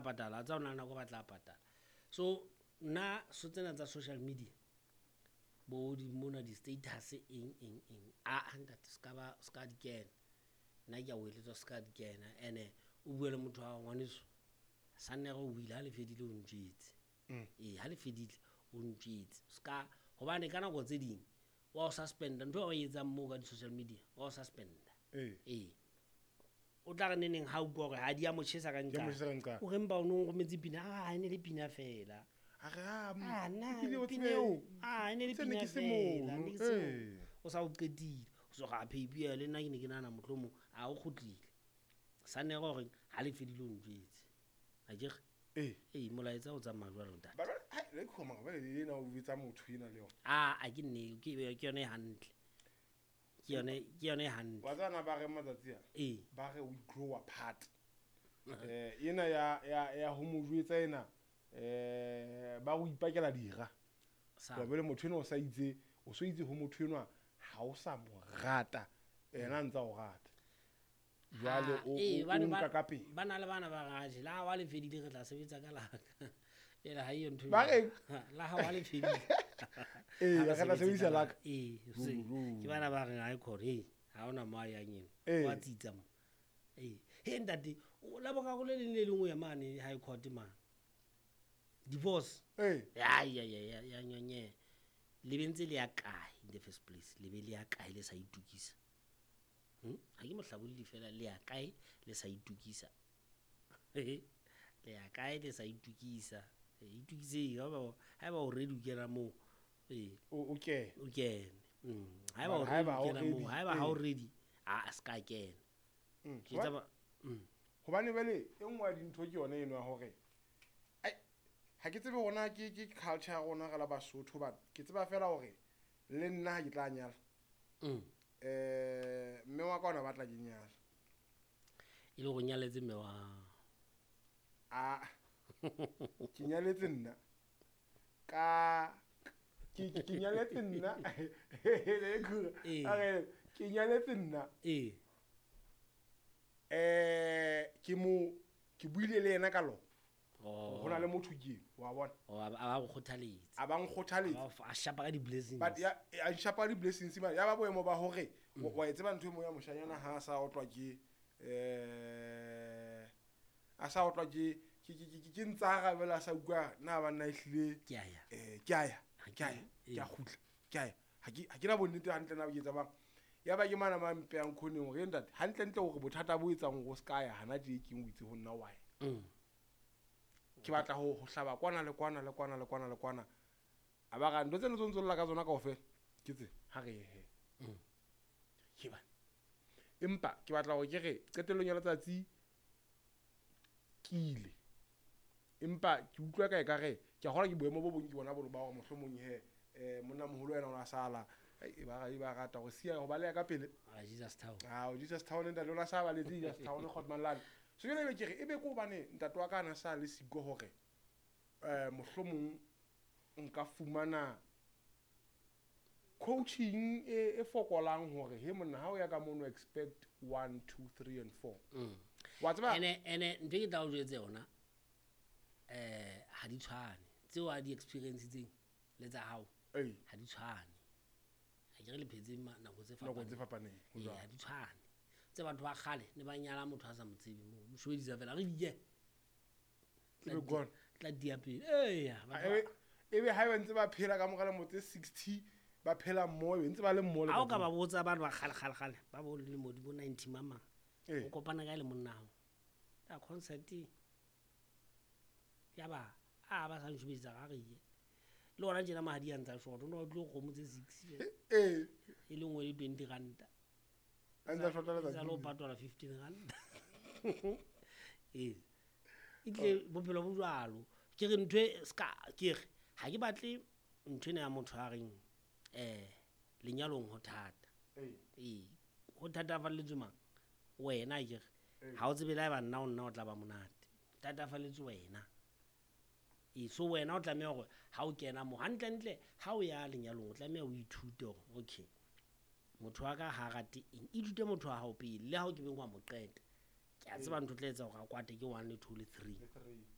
Patala, a tsa o na le nako ba tla patala. So nna so tsena tsa social media, bo di mona, di-status, eng eng eng, a ntate, se ka ba se ka di kena. Nna ke a o eletsa, se ka di kena. Ene o bue le motho wa ngwaneso sannere, o buile ha le fedile, o ntjwetse. Ee, ha le fedile o ntjwetse. Ska hobane ka nako tse ding wa o suspenda ntho eo o e etsang moo ka di-social media, wa o suspenda. Ee, o tla re neneng ha utlwa hore ha di a mo tjhesa ka Di a mo tjhesa ka nqane. O re mpa o no nrometse pina, a e ne le pina fela. A re, ah, Ah, nna ebile o pina tsebe- eo, ah, e ne le tse ne pina ke se fela, mono, ne ke se mono. ee. O sa o qetile, o so ga pheipi ya le nna ke ne ke nahana mohlomong a o kgutlile sannere gore ha le fedile o ntjwetse, akere? Ee. Ee, molaetsa o tsamaya jwalo, ntate. Ba hai, le khoma ba le ena o betsa motho ena le yona. A a ke nne ke yone e hantle, ke yone e hantle. Wa tsana ba re matsatsi a ba re we grow apart. Ena ya ho mo jwetsa ena, ba go ipakela dira. Sa Wa bele motho ena o sa itse, o so itse ho motho enwa ha o sa mo rata, ena a ntsa o rata. Jwale Ah, o ee, o bane o nka ka pele. Ba na le bana ba raje la ha wa le fedile, re tla sebetsa ka laka jale ha eyo ntho Ba reng? La ha wa le fedile. Ee, Ha re tla sebetse sebedisa ka laka. Ee, Ruri. ke bana ba reng ha e khona, ee, ha ona mo a yang eno. Wa tsitsa mo. Ee, he ntate, la boraro le leng le leng o ya mane high court mane, divorce. Ya ya ya ya ya nyonye, le be ntse le ya kae in the first place? Le be le ya kae le sa itukisa? Ha ke mohlabolli fela, le ya kae le sa itukisa? Le ya kae le sa itukisa? Itukiseng. Haeba o ready o kena moo, ee. O kene. O kene. Haeba o Mara ready haeba o ha o kena moo, ready, haeba ha o ee. ready, a se ka kena. Ke tsa. Hobane jwale e nngwe ya dintho ke yona eno ya hore ai, ha ke tsebe hona ke culture ya rona re la Basotho, but ke tseba fela hore le nna ha ke tla nyala, mme wa ka ona batla ke nyala. E le go nyaletse mme wa? A ke nyaletse nna ka ke nyaletse nna. Ee. A re ke nyaletse nna. Ke mo ke buile le yena ka lona. Oh. Ho na le motho ke wa bona. Oh, a ba go kgothaletse. A ba nkgothaletsa. A shapa ka di-blessings. But ya a nshapa di-blessings mane, ya ba boemo ba hore wa e tseba ntho e mo ya moshanyana ha a sa otlwa ke a sa otlwa ke ntsara jwale, a sa utlwa na banna ehlile. Ke a ya. Ke a ya. Ha Ke a ya. Ee. Ke a kgutla, ke a ya, ha ke na bonnete hantle na ke tsabang. Ya ba ke mana ma mpeyang khoneng hore ntate, hantlentle hore bothata bo etsang hore o ska ya hana tje keng, o itse ho nna wa ya. Ke batla ho hlaba kwana le kwana le kwana le kwana le kwana, a ba ra ntho tseno tse ntso lla ka tsona kaofela ke tse ha re ye he. Ke bana, empa ke batla hore ke re qetellong ya letsatsi ke ile, empa ke utlwa ka ekare ke a kgolwa ke boemo bo bong ke bona bono ba hore mohlomong he monna moholo yena o na sala. Ai, e ba rata ho siya ho baleha ka pele. Ah, Jesus Town. Ah, Jesus Town, ntate o na sa baletse Jesus Town Kgotman lane. So jwale ebe ke re ebe ke hobane ntate wa ka a na sa le siko hore mohlomong nka fumana coaching e fokolang hore he monna, ha o ya ka mono, expect 1 2 3 and 4. Wa tseba. Ene ntho e ke tla o jwetse yona, ha di tshwane tseo a di experience-tseng le tsa hao. Ha di tshwane, ha ke re le phetse nako tse Nako tse fapaneng. Fapaneng ho Ee, jwalo. ha di tshwane tse batho ba kgale ne ba nyala motho a sa mo tsebe, mo mo shobedisa fela re dike. Ebe gone. Tla dia pele, eya, batho Ebe ha ba ntse ba phela ka mora lemo tse 60, ba phela mmoho, ebe ntse ba le mmoho le Ha o ka kajeno. ba botsa batho ba kgale kgale kgale ba bo lemo di bo 90 mamang, o kopana kae le monna hao ka concert, ya ba a ba sa nshobetsa ga re ye le ona tjena, mahadi a ntsa short, o no utlwe kgomo tse 6 e le nngwe le 20 ranta. A ntsa shota Tsa letsatsi le ho le. patala 15 ranta. Ee, etlile bophelo bo jwalo. Ke re ntho e ska ke re ha ke batle ntho ena ya motho a reng lenyalong ho thata. Ee, ho thatafalletswe mang? Wena ke re ha o tsebe le haeba nna o nna o tla ba monate, thatafalletswe wena. Ee, so wena o tlameha hore ha o kena mo hantlentle, ha o ya lenyalong, o tlameha o ithute hore okay, motho wa ka ha rate eng. Ithute motho wa hao pele, le ha o ke beng wa mo qeta, ke a tseba ntho o tla etsa hore a kwate ke one le two le three. Le three.